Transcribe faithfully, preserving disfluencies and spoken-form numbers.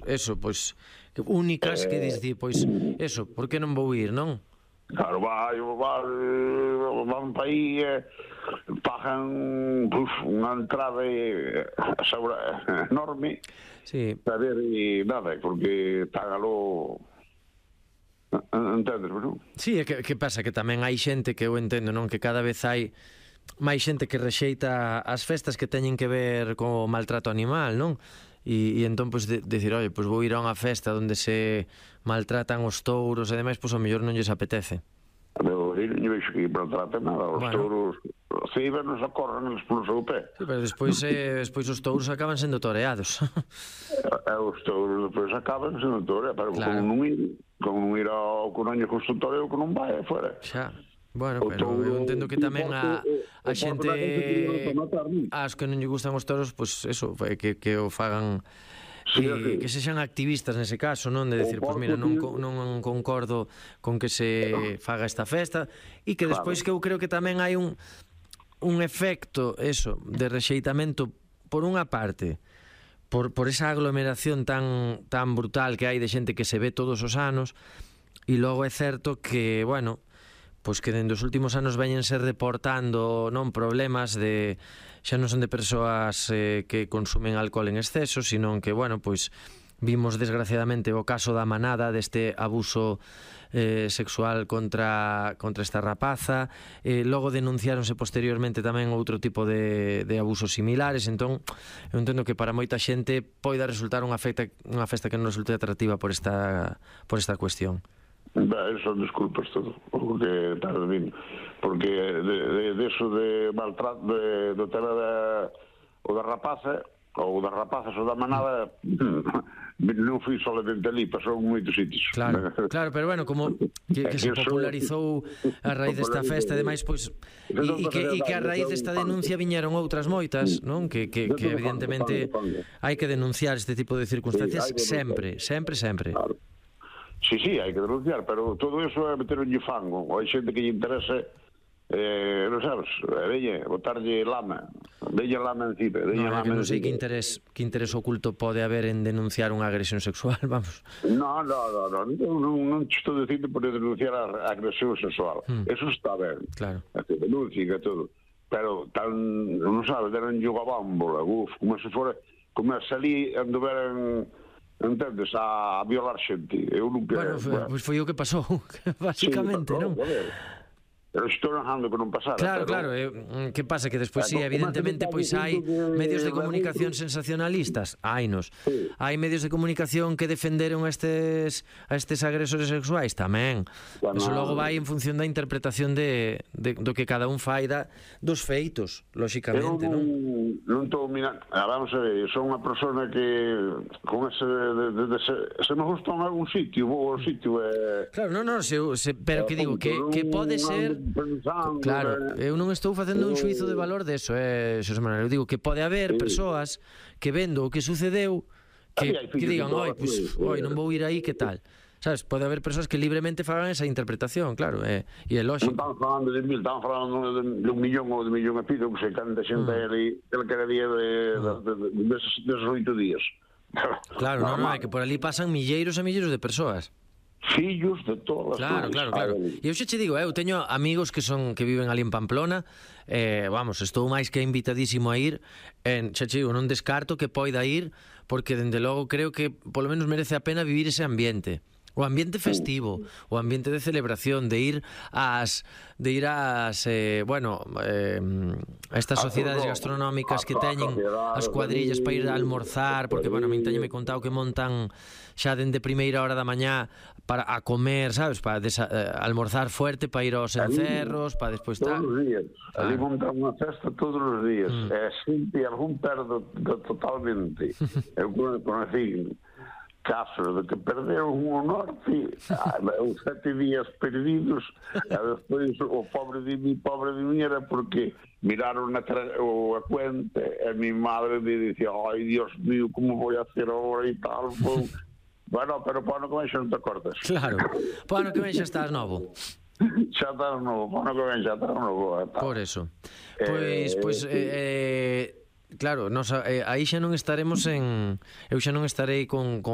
eso, pois únicas que dicir, pois eso, por que non vou ir, non? Claro, vai, vai, van para aí, eh, pagan uf, unha entrada eh, enorme, sí. a ver, e nada, porque págalo, entendes, non? Sí, é que, que pasa que tamén hai xente que eu entendo, non? Que cada vez hai máis xente que rexeita as festas que teñen que ver co maltrato animal, non? E, e entón, pois, de, decir, oi, pois vou ir a unha festa onde se maltratan os touros e demais, pois ao mellor non lles apetece. Pero eu non vexo que maltraten nada, os bueno. touros se iban nos acorren eles polo seu pé. Sí, pero despois, eh, despois os touros acaban sendo toreados. E os touros despois acaban sendo toreados, pero claro. Como non ir, como non ir ao Coruña con o toreo que non vai fora. Xa. Bueno, pero eu entendo que tamén a, a xente as que non lle gustan os toros, pois eso, que, que o fagan, que, que sexan activistas nese caso, non? De decir, pois mira, non, non concordo con que se faga esta festa, e que despois que eu creo que tamén hai un un efecto, eso, de rexeitamento por unha parte, por, por esa aglomeración tan, tan brutal que hai de xente que se ve todos os anos, e logo é certo que, bueno, pois que dende os últimos anos veñense reportando, non, problemas de, xa non son de persoas eh, que consumen alcohol en exceso, sino que, bueno, pois vimos desgraciadamente o caso da manada deste abuso eh, sexual contra, contra esta rapaza, eh, logo denunciáronse posteriormente tamén outro tipo de, de abusos similares. Entón eu entendo que para moita xente poida resultar unha festa, unha festa que non resulte atractiva por esta, por esta cuestión. Ben, son desculpas todo, porque tal vez porque de, de, de eso de maltrato de, do tema da o da rapaza ou das rapazas ou da manada non fui solamente ali, pasou en moitos sitios. Claro, claro, pero bueno, como que, que se popularizou a raíz desta festa e demais, pois e, e, que, e que a raíz desta denuncia viñeron outras moitas, non? Que, que, que evidentemente hai que denunciar este tipo de circunstancias sempre, sempre, sempre. Claro. Sí, sí, hai que denunciar, pero todo eso é meter un fango. Hai xente que lle interesa, eh, non sabes, veña, botarlle lama, veña lama encima. No, é que non sei que interés, que interés oculto pode haber en denunciar unha agresión sexual, vamos. No, no, no, no, non, non te estou dicindo por denunciar a agresión sexual. Hmm. Eso está ben. Claro. Que denuncien e todo. Pero tan, non sabes, deran yo a bámbola, uf, como se fora, como se ali anduveran, entendes, a violar xente. Eu nunca... Bueno, foi, bueno. Pois foi o que pasou, basicamente, sí, non? Pero estou narrando que non pasara. Claro, pero... claro, eh, que pasa? Que despois, sí, evidentemente, pois hai medios de comunicación sensacionalistas, hainos. Sí. Hai medios de comunicación que defenderon a estes, a estes agresores sexuais, tamén. Bueno, eso logo vai en función da interpretación de, de, do que cada un fai da, dos feitos, lóxicamente, non? Non estou mirando, vamos a ver, son unha persona que con ese, de, de, de, se, se me gusta en algún sitio, vou ao sitio e... Claro, non, non, se, se, pero que digo, que, que pode ser... Claro, eu non estou facendo un xuizo de valor deso, eh, Xosé Manuel, eu digo que pode haber persoas que vendo o que sucedeu que, que digan, oi, pues, oi, non vou ir aí, que tal? Sabes, pode haber persoas que libremente fagan esa interpretación, claro, e eh, é lógico. Non están falando de mil, están falando de, de un millón ou de millón e pido, que se canta xente mm. ali, cada día de, de, de, de, deses, deses oito días. Claro, non, non, é que por ali pasan milleiros e milleiros de persoas. Fillos de todas as Claro, claro, claro. E eu xa che digo, eu teño amigos que son que viven ali en Pamplona, eh, vamos, estou máis que invitadísimo a ir, en, xa che digo, non descarto que poida ir, porque dende logo creo que polo menos merece a pena vivir ese ambiente. O ambiente festivo, o ambiente de celebración, de ir ás de ir ás eh, bueno, eh, a estas sociedades gastronómicas que teñen as cuadrillas para ir a almorzar, porque bueno, a min teñome contado que montan xa dende primeira hora da mañá para a comer, sabes, para desa, eh, almorzar fuerte, para ir aos encerros, para despois estar todos os días. Ali montan unha festa todos os días. Mm. E sempre algún perdo totalmente. Eu conocí casos de que perderon o norte, os sete días perdidos, e despois o pobre de mi, pobre de mi era porque miraron a, o, a cuenta e mi madre me dicía, ai, Dios mío, como vou a hacer ahora e tal, pues, bueno, pero para ano que ven xa non te cortas. Claro, para ano que ven xa estás novo. Xa estás novo, para ano que ven xa estás novo. Por eso. Pois, eh, pois, eh, eh, claro, nos, eh, aí xa non estaremos en... Eu xa non estarei con... con